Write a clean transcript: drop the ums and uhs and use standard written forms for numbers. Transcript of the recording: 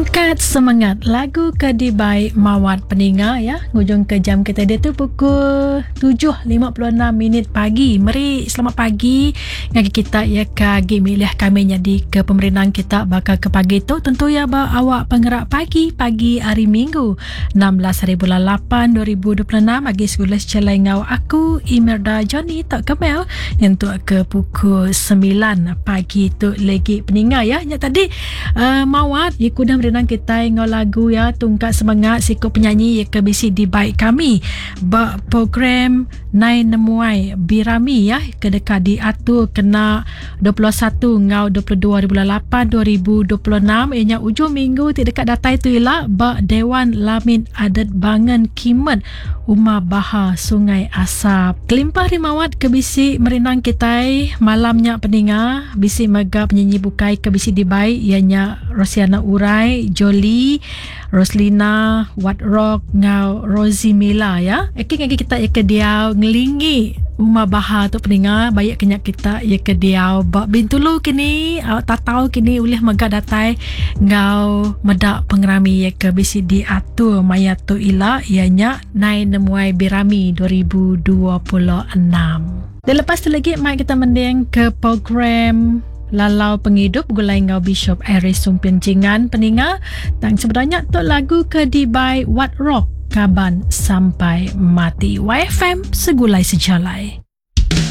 Tungkat semangat lagu ke dibai Mawat peninga ya ngujung ke jam kita diatu pukul 7.56 minit pagi. Meri selamat pagi ngagai kita ya ke agi milih kami nyadi ke pemerindang kita baka ke pagi tu tentu ya ba awak pengerak pagi pagi hari Minggu 16 hari bulan 8 2026 agi segulai sejalai enggau aku Imerda Johnny tok Kemel nyentuk ke pukul 9 pagi tu legi peninga ya nya tadi uh, mawat ya kudah merindang kitai enggau lagu ya tungkat semangat siku penyanyi ya ke bisi dibai kami ba program Nai Nemuai Birami ya ke deka diatur kena 21 enggau 22 hari bulan 8 2026 iya nya ujung minggu ti deka datai tu ila ba Dewan Lamin Adet Bangen Kimet Uma Baha Sungai Asap. Kelimpah ari Mawat ke bisi merindang kitai malam nya peninga bisi mega penyanyi bukai ke bisi dibai iya nya Rosiana Urai, Jolie, Roslina, Wat Rock enggau Rosie Mila ya. Eki ngagi kita iya ke diau ngelingi Uma Baha tu peninga baik ke nya kita iya ke diau ba Bintulu kini au Tatau kini ulih mega datai enggau meda pengerami iya ke bisi diatur maya tu ila iya nya Nai Nemuai Birami 2026. Dan lepas tu lagi mai kita mending ke program Lalau Pengidup begulai enggau Bishop Aris Sumpin Jingan peninga. Tang sebenarnya tu lagu ke dibai What Rock Kaban Sampai Mati. YFM Segulai Sejalai.